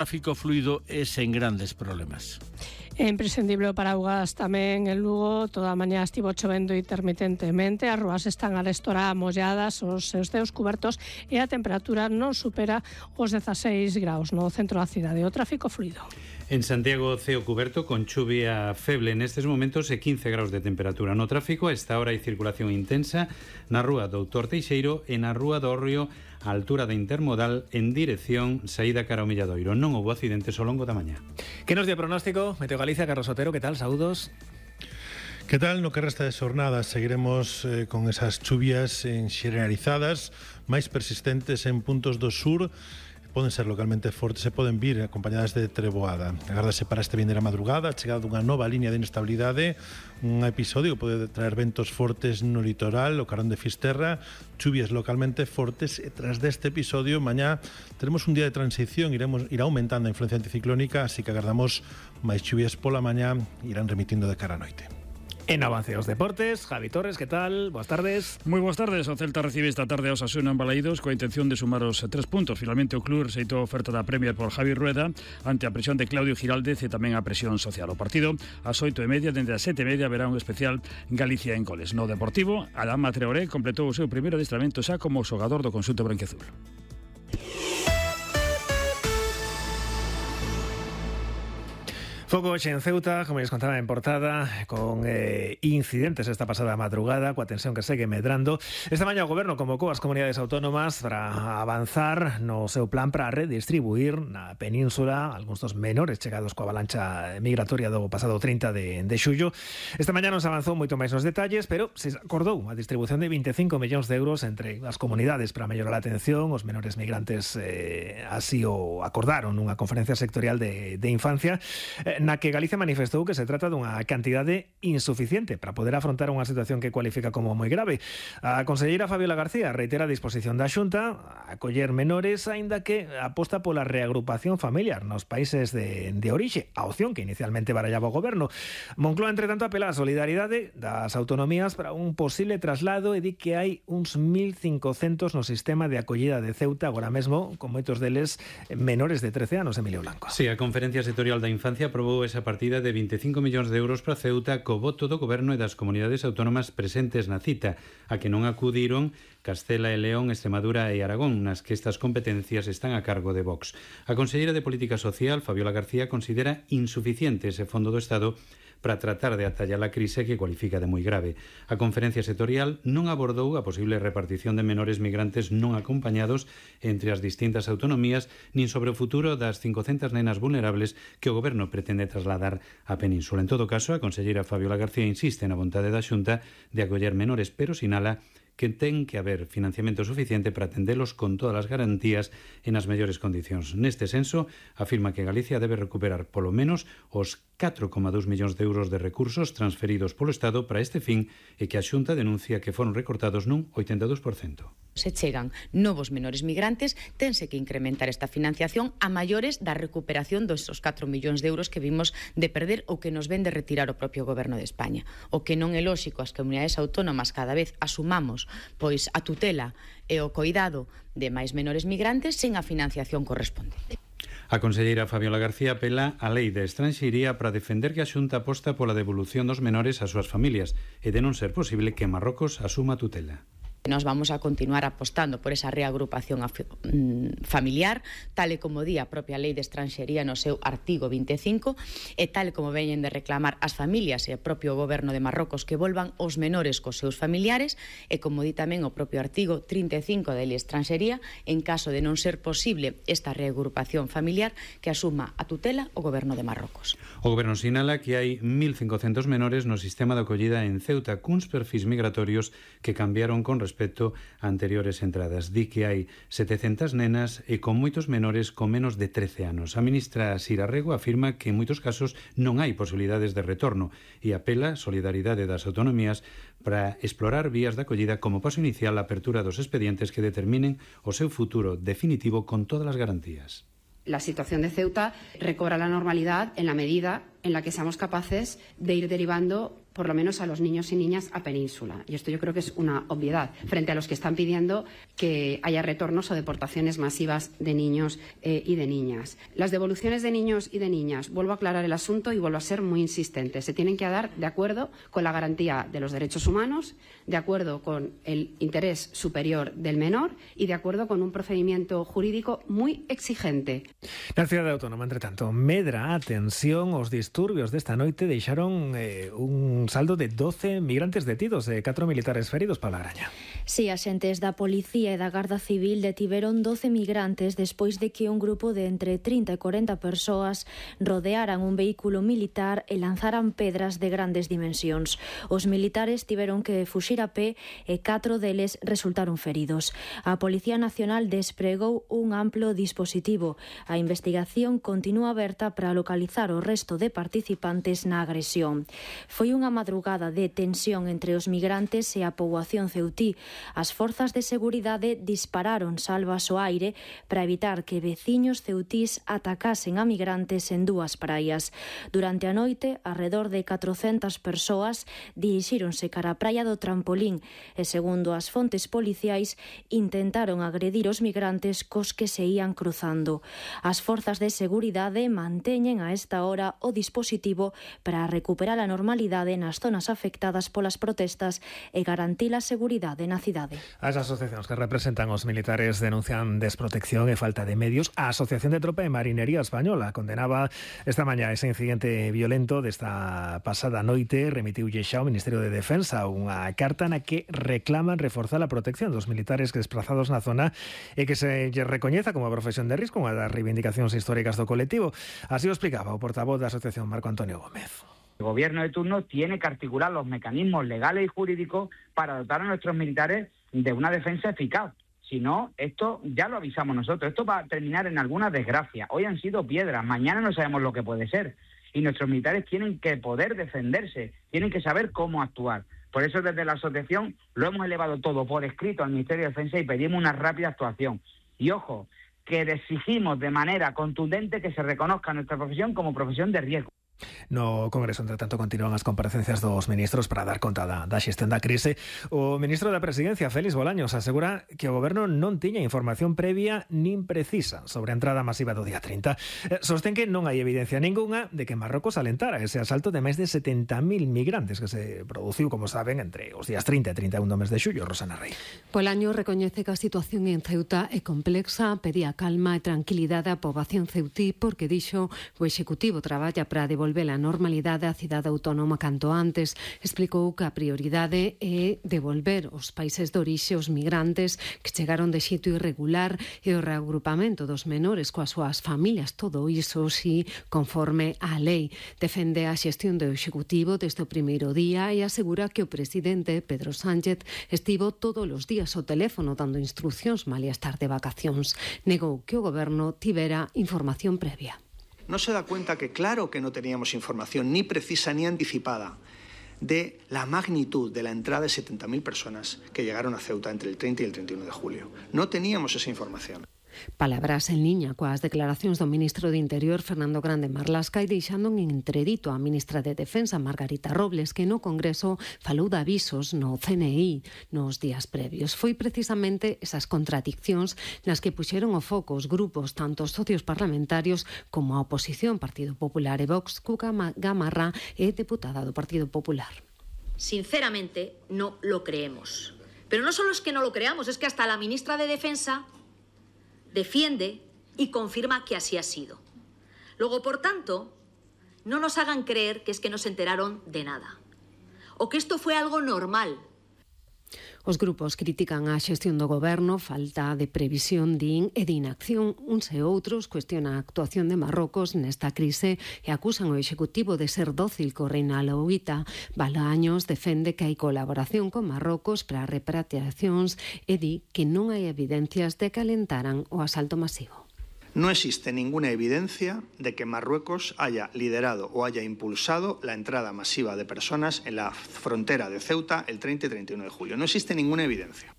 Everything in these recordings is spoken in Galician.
tráfico fluido e sen grandes problemas. É imprescindible o paraugas tamén en Lugo. Toda a mañá estivo chovendo intermitentemente, as rúas están arestora molladas, os seus teos cubertos e a temperatura non supera os 16 graus no centro da cidade. O tráfico fluido. En Santiago, ceo cuberto con chuvia feble nestes momentos e 15 graus de temperatura. No tráfico, a esta hora hai circulación intensa na rúa Doutor Teixeiro e na rúa do Hórreo, a altura da Intermodal, en dirección saída cara ao Milladoiro. Non houbo accidentes ao longo da mañá. Que nos di o pronóstico? Meteo Galicia, Carlos Otero, que tal? Saúdos. Que tal? No que resta de xornada seguiremos con esas chuvias xeneralizadas, máis persistentes en puntos do sur. Poden ser localmente fortes e poden vir acompañadas de treboada. Agárdase para este vindeira madrugada a chegada dunha nova liña de inestabilidade, un episodio que pode traer ventos fortes no litoral, o carón de Fisterra, chuvias localmente fortes, e tras deste episodio mañá teremos un día de transición, irá aumentando a influencia anticiclónica, así que agardamos máis chuvias pola mañá, irán remitindo de cara a noite. En avance aos deportes, Javi Torres, que tal? Boas tardes. Moi boas tardes. O Celta recibe esta tarde a Osasuna en Balaídos coa intención de sumar os 3 puntos. Finalmente o club rexeitou a oferta da Premier por Javi Rueda ante a presión de Claudio Giraldez e tamén a presión social. O partido ás 8:30, dende as 7:30 verá un especial Galicia en goles. No Deportivo, Adama Traoré completou o seu primeiro adestramento xa como xogador do conxunto branquiazul. Foco hoxe en Ceuta, como les contaba en portada, con incidentes esta pasada madrugada, coa tensión que segue medrando. Esta mañá o Goberno convocou as comunidades autónomas para avanzar no seu plan para redistribuir na península algúns dos menores chegados coa avalancha migratoria do pasado 30 de xullo. Esta mañá non se avanzou moito máis nos detalles, pero se acordou a distribución de 25 millóns de euros entre as comunidades para mellorar a atención aos menores migrantes, así o acordaron nunha conferencia sectorial de infancia, na que Galicia manifestou que se trata dunha cantidade insuficiente para poder afrontar unha situación que cualifica como moi grave. A conselleira Fabiola García reitera a disposición da Xunta a acoller menores, aínda que aposta pola reagrupación familiar nos países de orixe, a opción que inicialmente barallaba o Goberno. Moncloa, entre tanto, apela á solidaridade das autonomías para un posible traslado e di que hai uns 1.500 no sistema de acollida de Ceuta agora mesmo, con moitos deles menores de 13 anos. Emilio Blanco. Sí, a Conferencia Sectorial da Infancia aprobou esa partida de 25 millóns de euros para Ceuta co voto do Goberno e das comunidades autónomas presentes na cita, a que non acudiron Castela e León, Extremadura e Aragón, nas que estas competencias están a cargo de Vox. A conselleira de Política Social, Fabiola García, considera insuficiente ese fondo do Estado para tratar de atallar a crise que cualifica de moi grave. A conferencia sectorial non abordou a posible repartición de menores migrantes non acompañados entre as distintas autonomías, nin sobre o futuro das 500 nenas vulnerables que o Goberno pretende trasladar á península. En todo caso, a conselleira Fabiola García insiste na vontade da Xunta de acoller menores, pero sinala que ten que haber financiamento suficiente para atendelos con todas as garantías e nas mellores condicións. Neste senso, afirma que Galicia debe recuperar polo menos os 4,2 millóns de euros de recursos transferidos polo Estado para este fin e que a Xunta denuncia que foron recortados nun 82%. Se chegan novos menores migrantes, tense que incrementar esta financiación a maiores da recuperación dos 4 millóns de euros que vimos de perder ou que nos ven de retirar o propio Goberno de España. O que non é lóxico as comunidades autónomas cada vez asumamos pois a tutela e o coidado de máis menores migrantes sen a financiación correspondente. A conselleira Fabiola García apela á Lei de Estranxería para defender que a Xunta aposta pola devolución dos menores ás súas familias e de non ser posible que Marrocos asuma a tutela. Nós vamos a continuar apostando por esa reagrupación familiar, tal e como di a propia Lei de Estranxería no seu artigo 25, e tal como veñen de reclamar as familias e o propio Goberno de Marrocos que volvan os menores cos seus familiares, e como di tamén o propio artigo 35 da Lei de Estranxería, en caso de non ser posible esta reagrupación familiar, que asuma a tutela o Goberno de Marrocos. O Goberno sinala que hai 1.500 menores no sistema de acollida en Ceuta cuns perfis migratorios que cambiaron con respecto a anteriores entradas. Di que hai 700 nenas e con moitos menores con menos de 13 anos. A ministra Sira Rego afirma que en moitos casos non hai posibilidades de retorno e apela a solidaridade das autonomías para explorar vías de acollida como paso inicial a apertura dos expedientes que determinen o seu futuro definitivo con todas as garantías. La situación de Ceuta recobra la normalidad en la medida en la que seamos capaces de ir derivando por lo menos a los niños y niñas a península. Y esto yo creo que es una obviedad frente a los que están pidiendo que haya retornos o deportaciones masivas de niños y de niñas. Las devoluciones de niños y de niñas, vuelvo a aclarar el asunto y vuelvo a ser muy insistente, se tienen que dar de acuerdo con la garantía de los derechos humanos, de acuerdo con el interés superior del menor y de acuerdo con un procedimiento jurídico muy exigente. Na cidade autónoma, entre tanto, medra a tensión. Os disturbios desta noite deixaron un saldo de 12 migrantes detidos e 4 militares feridos. Paula Graña. Si, axentes da Policía e da Garda Civil detiveron 12 migrantes despois de que un grupo de entre 30 e 40 persoas rodearan un vehículo militar e lanzaran pedras de grandes dimensións. Os militares tiveron que fuxir a pé e 4 deles resultaron feridos. A Policía Nacional despregou un amplo dispositivo. A investigación continúa aberta para localizar o resto de participantes na agresión. Foi unha madrugada de tensión entre os migrantes e a poboación ceutí. As forzas de seguridade dispararon salvas ao aire para evitar que veciños ceutís atacasen a migrantes en dúas praias. Durante a noite, arredor de 400 persoas dirixíronse cara a praia do Trampolín e, segundo as fontes policiais, intentaron agredir os migrantes cos que se ían cruzando. As forzas de seguridade manteñen a esta hora o dispositivo para recuperar a normalidade nas zonas afectadas polas protestas e garantir a seguridade na cidade. As asociacións que representan os militares denuncian desprotección e falta de medios. A Asociación de Tropa e Marinería Española condenaba esta mañá ese incidente violento desta pasada noite. Remitiulle xa ao Ministerio de Defensa unha carta na que reclaman reforzar a protección dos militares desplazados na zona e que se recoñeza como profesión de risco, unha das reivindicacións históricas do colectivo. Así o explicaba o portavoz da Asociación, Marco Antonio Gómez. El gobierno de turno tiene que articular los mecanismos legales y jurídicos para dotar a nuestros militares de una defensa eficaz. Si no, esto ya lo avisamos nosotros. Esto va a terminar en alguna desgracia. Hoy han sido piedras, mañana no sabemos lo que puede ser. Y nuestros militares tienen que poder defenderse, tienen que saber cómo actuar. Por eso desde la asociación lo hemos elevado todo por escrito al Ministerio de Defensa y pedimos una rápida actuación. Y ojo, que exigimos de manera contundente que se reconozca nuestra profesión como profesión de riesgo. No Congreso, entre tanto, continúan as comparecencias dos ministros para dar conta da xestión da crise. O ministro da Presidencia, Félix Bolaños, asegura que o Goberno non tiña información previa nin precisa sobre a entrada masiva do día 30. Sostén que non hai evidencia ningunha de que Marrocos alentara ese asalto de máis de 70.000 migrantes que se produciu, como saben, entre os días 30 e 31 do mes de xullo. Rosana Rey. Bolaños recoñece que a situación en Ceuta é complexa, pedía calma e tranquilidade á poboación ceutí porque dixo o Executivo traballa para devolver a normalidade á cidade autónoma canto antes. Explicou que a prioridade é devolver os países de orixe os migrantes que chegaron de xeito irregular e o reagrupamento dos menores coas súas familias, todo iso si conforme á lei. Defende a xestión do Executivo desde o primeiro día e asegura que o presidente Pedro Sánchez estivo todos os días ao teléfono dando instruccións malia estar de vacacións. Negou que o Goberno tivera información previa. No se da cuenta que claro que no teníamos información ni precisa ni anticipada de la magnitud de la entrada de 70.000 personas que llegaron a Ceuta entre el 30 y el 31 de julio. No teníamos esa información. Palabras en liña coas declaracións do ministro de Interior, Fernando Grande Marlasca, e deixando en entredito a ministra de Defensa, Margarita Robles, que no Congreso falou de avisos no CNI nos días previos. Foi precisamente esas contradiccións nas que puxeron o foco os grupos, tanto os socios parlamentarios como a oposición, Partido Popular e Vox. Cuca Gamarra é deputada do Partido Popular. Sinceramente, no lo creemos. Pero no solo es que no lo creamos, es que hasta la ministra de Defensa defiende y confirma que así ha sido. Luego, por tanto, no nos hagan creer que es que no se enteraron de nada o que esto fue algo normal. Os grupos critican a xestión do Goberno, falta de previsión, din, e de inacción. Uns e outros cuestionan a actuación de Marrocos nesta crise e acusan o Executivo de ser dócil co reina alauita. Bolaños defende que hai colaboración con Marrocos para repatriacións e di que non hai evidencias de que alentaran o asalto masivo. No existe ninguna evidencia de que Marruecos haya liderado o haya impulsado la entrada masiva de personas en la frontera de Ceuta el 30 y 31 de julio. No existe ninguna evidencia.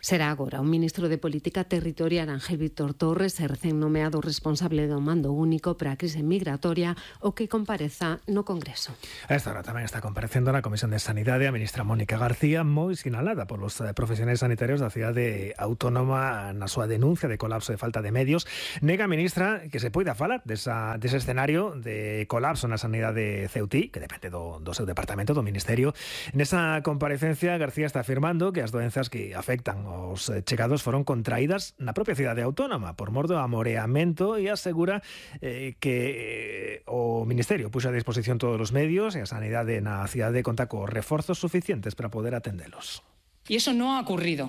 Será agora o ministro de Política Territorial Ángel Víctor Torres, recén nomeado responsable do mando único para a crise migratoria, o que compareza no Congreso. A esta hora tamén está comparecendo na Comisión de Sanidade a ministra Mónica García, moi sinalada polos profesionais sanitarios da cidade autónoma na súa denuncia de colapso de falta de medios. Nega a ministra que se poida falar dese escenario de colapso na sanidade ceutí, que depende do seu departamento, do Ministerio. Nesa comparecencia, García está afirmando que as doenzas que afectan os chegados foron contraídas na propia cidade autónoma por mor do amoreamento e asegura que o Ministerio puxo a disposición todos os medios e a sanidade na cidade conta cos reforzos suficientes para poder atendelos. Y eso no ha ocurrido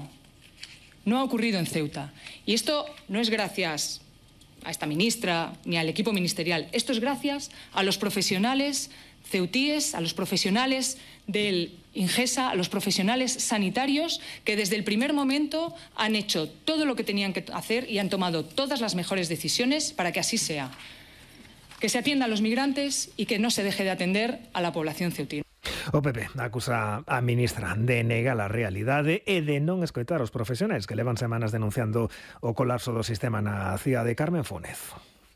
en Ceuta. Y esto no es gracias a esta ministra ni al equipo ministerial. Esto es gracias a los profesionales ceutíes, a los profesionales del Ingesa, a los profesionales sanitarios que desde el primer momento han hecho todo lo que tenían que hacer y han tomado todas las mejores decisiones para que así sea. Que se atienda a los migrantes y que no se deje de atender a la población ceutí. O PP acusa a ministra de negar a realidade e de non escoitar os profesionais que levan semanas denunciando o colapso do sistema na cidade de Carmen Fúnez.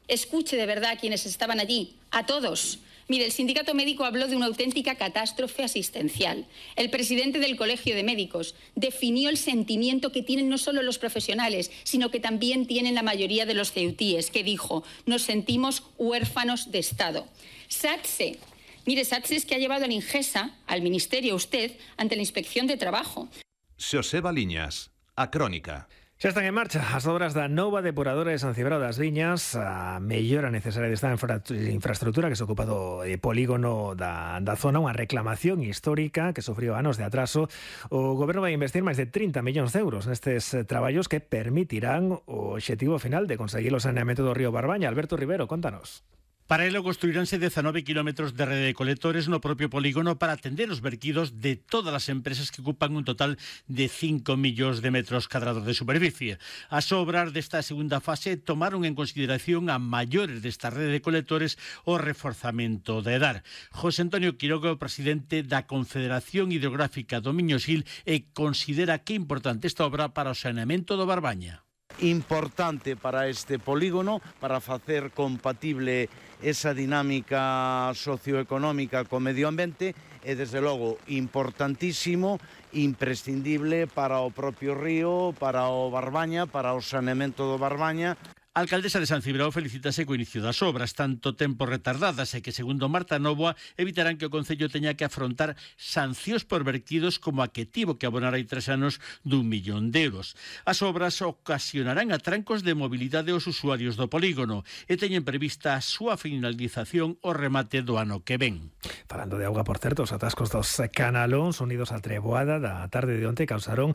Escuche de verdad a quienes estaban allí, a todos. Mire, el sindicato médico habló de una auténtica catástrofe asistencial. El presidente del Colegio de Médicos definió el sentimiento que tienen no solo los profesionales, sino que también tienen la mayoría de los ceutíes, que dijo: nos sentimos huérfanos de Estado. SATSE. Mire, SATSE es que ha llevado al Ingesa, al Ministerio, usted, ante la Inspección de Trabajo. Xoseba Liñas, a Crónica. Xa están en marcha as obras da nova depuradora de San Cibrao das Viñas, a mellora necesaria desta infraestructura que se ocupa do polígono da zona, unha reclamación histórica que sufriu anos de atraso. O Goberno vai investir máis de 30 millóns de euros nestes traballos que permitirán o obxectivo final de conseguir o saneamento do río Barbaña. Alberto Rivero, contanos. Para ello construiránse 19 kilómetros de rede de colectores no propio polígono para atender os verquidos de todas as empresas que ocupan un total de 5 millóns de metros cadrados de superficie. As obras desta segunda fase tomaron en consideración a maiores desta rede de colectores o reforzamento de EDAR. José Antonio Quiroga, presidente da Confederación Hidrográfica do Miño-Sil, considera que é importante esta obra para o saneamento do Barbaña. Importante para este polígono, para facer compatible esa dinámica socioeconómica co medio ambiente e, desde logo, importantísimo, imprescindible para o propio río, para o Barbaña, para o saneamento do Barbaña. A alcaldesa de San Cibrao felicítase co inicio das obras, tanto tempo retardadas e que, segundo Marta Novoa, evitarán que o Concello teña que afrontar sancións por verquidos como a que tivo que abonar hai 3 anos d'1 millón de euros. As obras ocasionarán atrancos de mobilidade aos usuarios do polígono e teñen prevista a súa finalización o remate do ano que ven. Falando de auga, por certo, os atascos dos canalóns unidos á treboada da tarde de onte causaron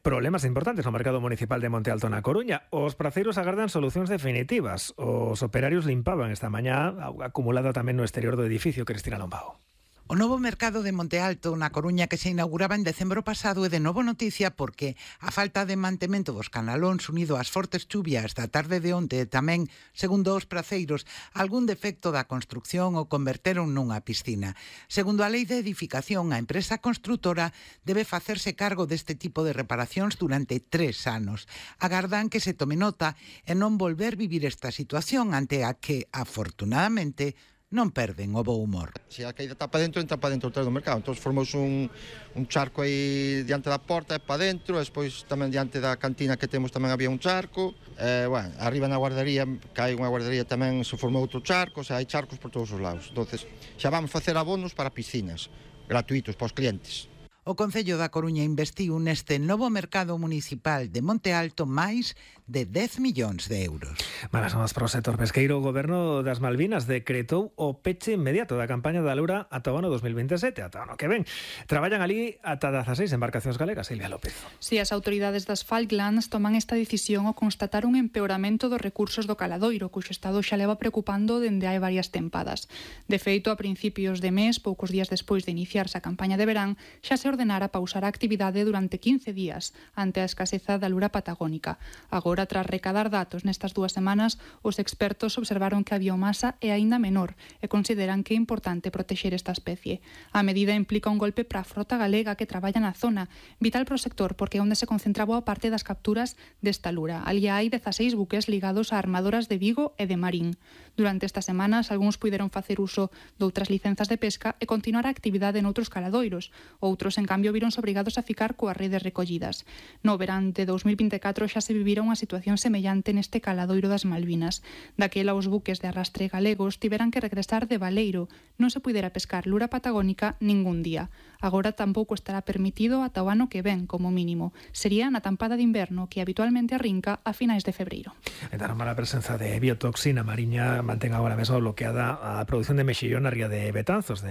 problemas importantes no mercado municipal de Monte Alto na Coruña. Os praceiros agardan solucións definitivas. Os operarios limpaban esta mañá auga acumulada tamén no exterior do edificio. Cristina Lombao. O novo mercado de Monte Alto na Coruña que se inauguraba en decembro pasado é de novo noticia porque a falta de mantemento dos canalóns unido ás fortes chuvias da tarde de onte tamén, segundo os praceiros, algún defecto da construcción o converteron nunha piscina. Segundo a lei de edificación, a empresa construtora debe facerse cargo deste tipo de reparacións durante 3 anos. Agardan que se tome nota e non volver vivir esta situación ante a que, afortunadamente, non perden o bo humor. Se a caída está para dentro, entra para dentro do mercado. Entón formou un charco aí diante da porta e para dentro, e despois tamén diante da cantina que temos tamén había un charco. Bueno, arriba na guardería, que hai unha guardería tamén se formou outro charco, o sea, hai charcos por todos os lados. Entonces, xa vamos facer abonos para piscinas, gratuitos para os clientes. O Concello da Coruña investiu neste novo mercado municipal de Monte Alto máis de 10 millóns de euros. Malas novas para o sector pesqueiro. O Goberno das Malvinas decretou o peche inmediato da campaña da Lura ata o ano 2027, ata o ano que ven. Traballan ali ata 16 embarcacións galegas. Silvia López. Si as autoridades das Falklands toman esta decisión ao constatar un empeoramento dos recursos do caladoiro, cuxo estado xa leva preocupando dende hai varias tempadas. De feito, a principios de mes, poucos días despois de iniciarse a campaña de verán, xa se ordenara pausar a actividade durante 15 días ante a escaseza da lura patagónica. Agora Agora, tras recadar datos nestas 2 semanas, os expertos observaron que a biomasa é aínda menor e consideran que é importante protexer esta especie. A medida implica un golpe para a frota galega que traballa na zona, vital para o sector porque é onde se concentra boa parte das capturas desta lura. Ali hai 16 buques ligados a armadoras de Vigo e de Marín. Durante estas semanas, algúns puideron facer uso de outras licenzas de pesca e continuar a actividade noutros caladoiros. Outros, en cambio, vironse obrigados a ficar coas redes recollidas. No verán de 2024 xa se vivira unha situación semellante neste caladoiro das Malvinas. Daquela, os buques de arrastre galegos tiveran que regresar de baleiro. Non se puidera pescar lura patagónica ningún día. Agora tampouco estará permitido ata o ano que ven, como mínimo. Sería na tampada de inverno que habitualmente arrinca a finais de febreiro. Entre a mala presenza de biotoxina mariña mantén agora mesmo bloqueada a produción de mexillón na ría de Betanzos.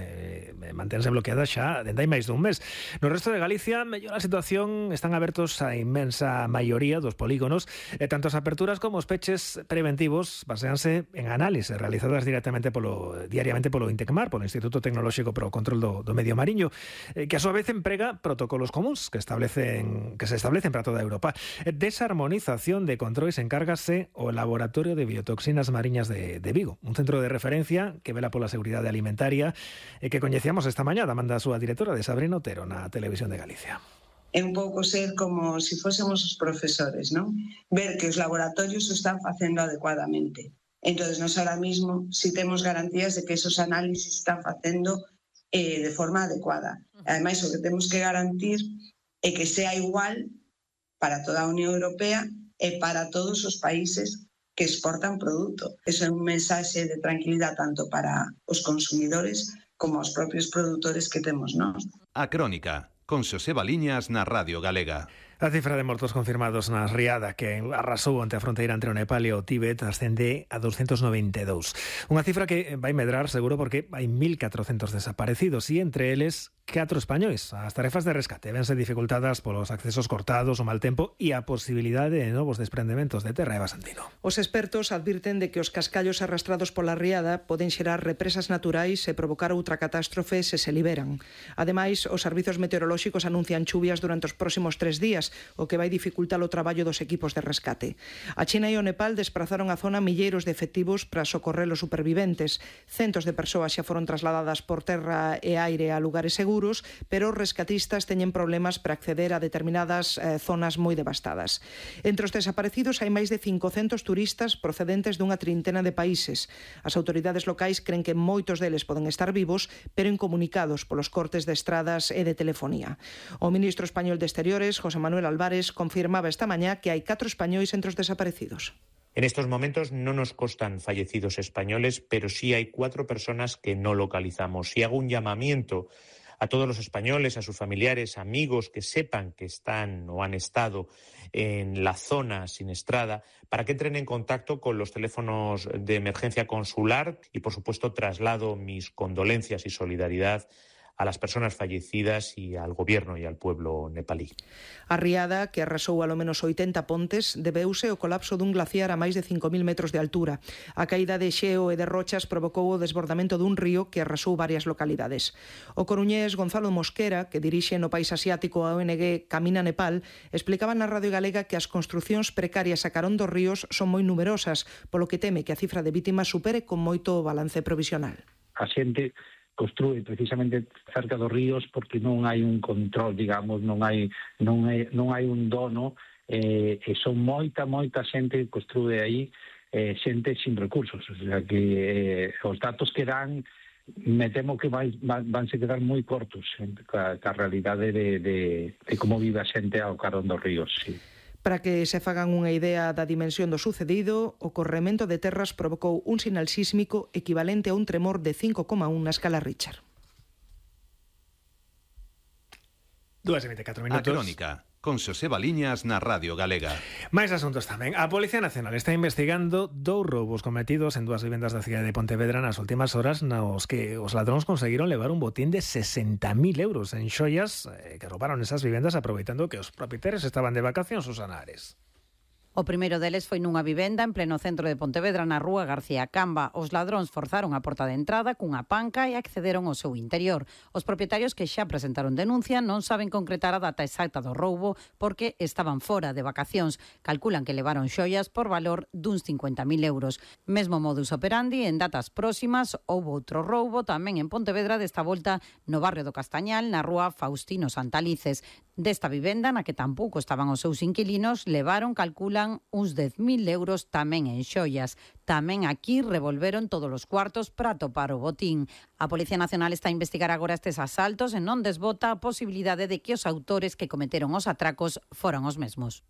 Mantense bloqueada xa dende hai máis dun mes. No resto de Galicia, mellor a situación, están abertos a inmensa maioría dos polígonos e tanto as aperturas como os peches preventivos baseanse en análises realizadas diariamente polo INTECMAR, polo Instituto Tecnolóxico para o Control do Medio Mariño, que a súa vez emprega protocolos comuns que se establecen para toda Europa. Desa armonización de controis encárgase o Laboratorio de Biotoxinas Mariñas de Vigo, un centro de referencia que vela pola seguridade alimentaria e que coñecíamos esta mañá da manda a súa directora, de Sabrina Otero, na Televisión de Galicia. É un pouco ser como se fósemos os profesores, non? Ver que os laboratorios o están facendo adecuadamente. Entonces, nós ahora mismo si temos garantías de que esos análisis están facendo de forma adecuada. Ademais, o que temos que garantir é que sea igual para toda a Unión Europea e para todos os países que exportan produto. Eso é un mensaxe de tranquilidade tanto para os consumidores como aos propios produtores que temos nós. A Crónica, con Xosé Baliñas na Radio Galega. A cifra de mortos confirmados na riada que arrasou ante a fronteira entre o Nepal e o Tíbet ascende a 292. Unha cifra que vai medrar seguro porque hai 1.400 desaparecidos e entre eles 4 españois. As tarefas de rescate vense dificultadas polos accesos cortados, o mal tempo e a posibilidade de novos desprendementos de terra. Eva Santino. Os expertos advirten de que os cascallos arrastrados pola riada poden xerar represas naturais e provocar outra catástrofe se se liberan. Ademais, os servizos meteorolóxicos anuncian chuvias durante os próximos 3 días, o que vai dificultar o traballo dos equipos de rescate. A China e o Nepal desprazaron a zona milleiros de efectivos para socorrer os superviventes. Centos de persoas xa foron trasladadas por terra e aire a lugares seguros, pero os rescatistas teñen problemas para acceder a determinadas zonas moi devastadas. Entre os desaparecidos hai máis de 500 turistas procedentes dunha trintena de países. As autoridades locais cren que moitos deles poden estar vivos, pero incomunicados polos cortes de estradas e de telefonía. O ministro español de Exteriores, José Manuel Álvarez, confirmaba esta mañá que hai 4 españois entre os desaparecidos. En estos momentos no nos constan fallecidos españoles, pero sí hay 4 personas que no localizamos. Y hago un llamamiento a todos los españoles, a sus familiares, amigos que sepan que están o han estado en la zona siniestrada, para que entren en contacto con los teléfonos de emergencia consular y, por supuesto, traslado mis condolencias y solidaridad a las personas fallecidas y al gobierno y al pueblo nepalí. A riada, que arrasou alo menos 80 pontes, debeuse ao colapso dun glaciar a máis de 5.000 metros de altura. A caída de xeo e de rochas provocou o desbordamento dun río que arrasou varias localidades. O coruñés Gonzalo Mosquera, que dirixe no país asiático a ONG Camina Nepal, explicaba na Radio Galega que as construcións precarias a carón dos ríos son moi numerosas, polo que teme que a cifra de vítimas supere con moito o balance provisional. A xente construe precisamente cerca dos ríos porque non hai un control, digamos, non hai un dono, e son moita xente que construe aí, xente sin recursos, o sea que os datos que dan me temo que vanse quedar moi cortos ca realidade de como vive a xente ao carón dos ríos, sí. Para que se fagan unha idea da dimensión do sucedido, o corremento de terras provocou un sinal sísmico equivalente a un tremor de 5,1 na escala Richter. 2:24 A minutos. Crónica, con Xosé Baliñas na Radio Galega. Máis asuntos tamén. A Policía Nacional está investigando 2 roubos cometidos en 2 vivendas da cidade de Pontevedra nas últimas horas, nos que os ladróns conseguiron levar un botín de 60.000 euros en xoias que roubaron esas vivendas aproveitando que os propietarios estaban de vacacións os anares. O primeiro deles foi nunha vivenda en pleno centro de Pontevedra, na rúa García Camba. Os ladróns forzaron a porta de entrada cunha panca e accederon ao seu interior. Os propietarios que xa presentaron denuncia non saben concretar a data exacta do roubo porque estaban fora de vacacións. Calculan que levaron xoias por valor duns 50.000 euros. Mesmo modus operandi, en datas próximas houbo outro roubo tamén en Pontevedra, desta volta no barrio do Castañal, na rúa Faustino Santalices. Desta vivenda, na que tampouco estaban os seus inquilinos, levaron, calculan, uns 10.000 euros tamén en xoias. Tamén aquí revolveron todos os cuartos para atopar o botín. A Policía Nacional está a investigar agora estes asaltos e non desbota a posibilidade de que os autores que cometeron os atracos foran os mesmos.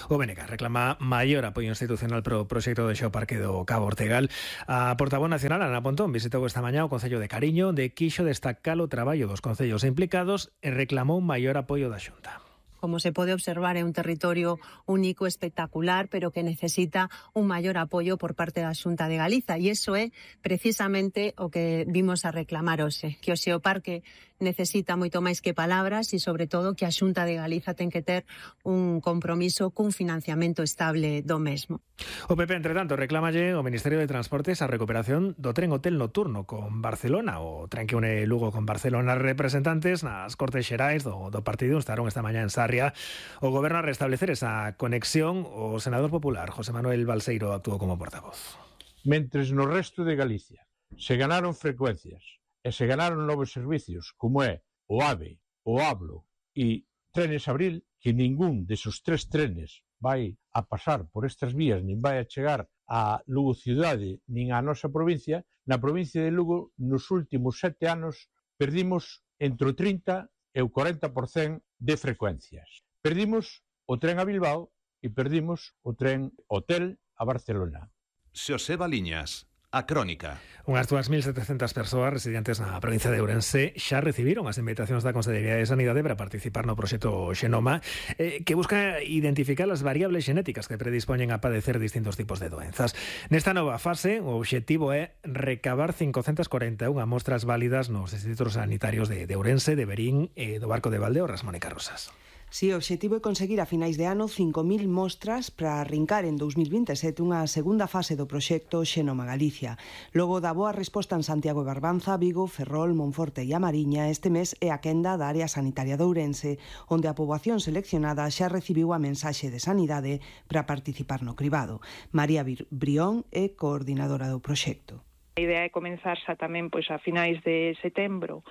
O BNG reclama maior apoio institucional para o proxecto de Xeoparque do Cabo Ortegal. A portavoz nacional, Ana Pontón, visitou esta mañá o Concello de Cariño, de quixo destacar o traballo dos concellos implicados e reclamou maior apoio da Xunta. Como se pode observar, é un territorio único, espectacular, pero que necesita un maior apoio por parte da Xunta de Galiza. E iso é precisamente o que vimos a reclamar hoxe, que o Xeoparque necesita moito máis que palabras e, sobre todo, que a Xunta de Galiza ten que ter un compromiso cun financiamento estable do mesmo. O PP, entre tanto, reclamalle ao Ministerio de Transportes a recuperación do tren hotel nocturno con Barcelona, o tren que une Lugo con Barcelona. Representantes nas Cortes Xerais do partido estaron esta mañá en Sarria o Goberno a restablecer esa conexión. O senador popular José Manuel Balseiro actuou como portavoz. Mentres no resto de Galicia se ganaron frecuencias e se ganaron novos servicios como é o AVE, o Hablo e Trenes Abril, que ningún desos 3 trenes vai a pasar por estas vías, nin vai a chegar a Lugo cidade, nin á nosa provincia. Na provincia de Lugo, nos últimos 7 anos, perdimos entre o 30 e o 40% de frecuencias. Perdimos o tren a Bilbao e perdimos o tren hotel a Barcelona. Xosé Baliñas, A Crónica. Unhas 2.700 persoas residentes na provincia de Ourense xa recibiron as invitacións da Consellería de Sanidade para participar no proxecto Xenoma, que busca identificar as variables xenéticas que predispoñen a padecer distintos tipos de doenzas. Nesta nova fase, o obxectivo é recabar 541 mostras válidas nos distritos sanitarios de Ourense, de Verín e do Barco de Valdeorras. Mónica Rosas. Si, o obxectivo é conseguir a finais de ano 5.000 mostras para arrincar en 2027 unha segunda fase do proxecto Xenoma Galicia. Logo da boa resposta en Santiago e Barbanza, Vigo, Ferrol, Monforte e A Mariña, este mes é a quenda da área sanitaria de Ourense, onde a poboación seleccionada xa recibiu a mensaxe de sanidade para participar no cribado. María Brión é coordinadora do proxecto. A idea é comenzar xa tamén a finais de setembro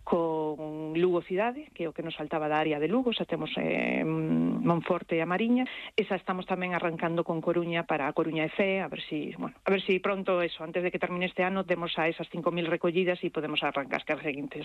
con Lugo cidade, que é o que nos faltaba da área de Lugo. Xa temos Monforte e A Mariña, e xa estamos tamén arrancando con Coruña para a Coruña e Cee, a ver si pronto eso, antes de que termine este ano, demos a esas 5.000 recollidas e podemos arrancar cas seguintes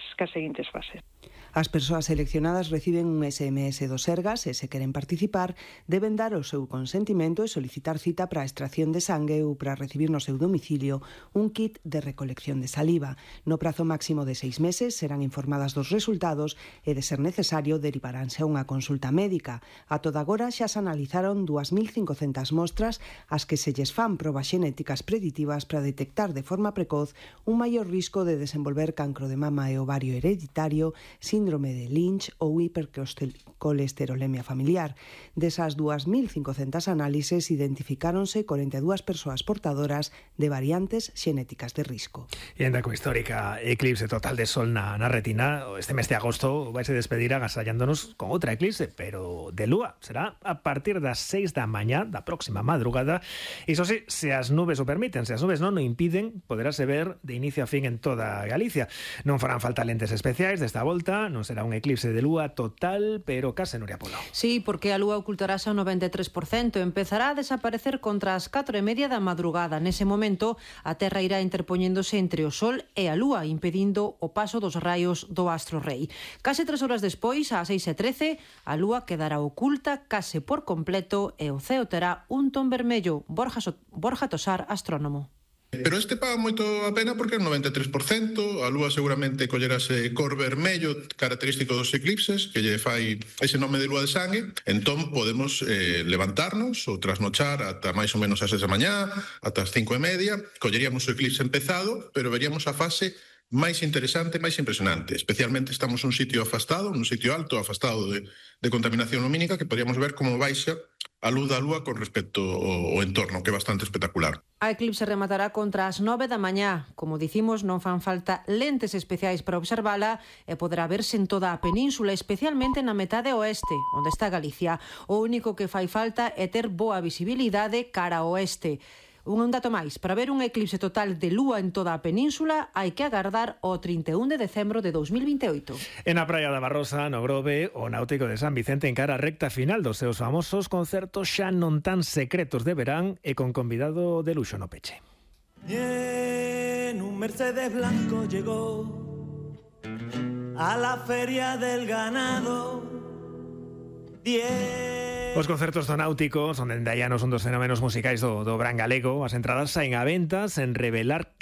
fases. As persoas seleccionadas reciben un SMS do Sergas e, se queren participar, deben dar o seu consentimento e solicitar cita para a extracción de sangue ou para recibir no seu domicilio un kit de recolección de saliva. No prazo máximo de 6 meses serán informadas dos resultados e, de ser necesario, derivaránse a unha consulta médica. A toda agora xa se analizaron 2.500 mostras as que se lles fan probas xenéticas preditivas para detectar de forma precoz un maior risco de desenvolver cancro de mama e ovario hereditario, síndrome de Lynch ou hipercolesterolemia familiar. Desas 2.500 análises identificáronse 42 persoas portadoras de variantes xenéticas de risco. E ainda coa histórica eclipse total de sol na retina, este mes de agosto vai se despedir agasallándonos con outra eclipse, pero de lúa. Será a partir das 6 da mañá da próxima madrugada. Iso sí, se as nubes o permiten, se as nubes non o impiden, poderase ver de inicio a fin en toda Galicia. Non farán falta lentes especiais desta volta, non será un eclipse de lúa total, pero case Nuria Polo. Sí, porque a lúa ocultarase ao 93%, empezará a desaparecer contra as 4:30 da madrugada. Nese momento, a Terra irá interpoñéndose entre o Sol e a lúa, impedindo o paso dos raios do astro rei. Case 3 horas despois, ás 6:13, a lúa quedará oculta case por completo e o ceo terá un ton vermello. Borja Tosar, astrónomo. Pero este paga moito a pena porque é un 93%, a lúa seguramente collerase cor vermello, característico dos eclipses, que lle fai ese nome de lúa de sangue. Entón podemos levantarnos ou trasnochar ata máis ou menos as 6 da mañá, ata as 5:30, colleríamos o eclipse empezado, pero veríamos a fase máis interesante, máis impresionante. Especialmente estamos nun sitio afastado, nun sitio alto, afastado de contaminación lumínica, que podríamos ver como baixa a luz da lúa con respecto ao entorno, que é bastante espectacular. A eclipse rematará contra as 9 da mañá. Como dicimos, non fan falta lentes especiais para observala e poderá verse en toda a península, especialmente na metade oeste, onde está Galicia. O único que fai falta é ter boa visibilidade cara ao oeste. Un dato máis, para ver un eclipse total de lúa en toda a península hai que agardar o 31 de decembro de 2028. En a praia da Barrosa, no Grove, o Náutico de San Vicente encara a recta final dos seus famosos concertos xa non tan secretos de verán e con convidado de luxo no peche. En un Mercedes blanco llegó a la feria del ganado. Os concertos do Náutico son dende hai anos un dos fenómenos musicais do Bran galego. As entradas saen a venta sen revelar que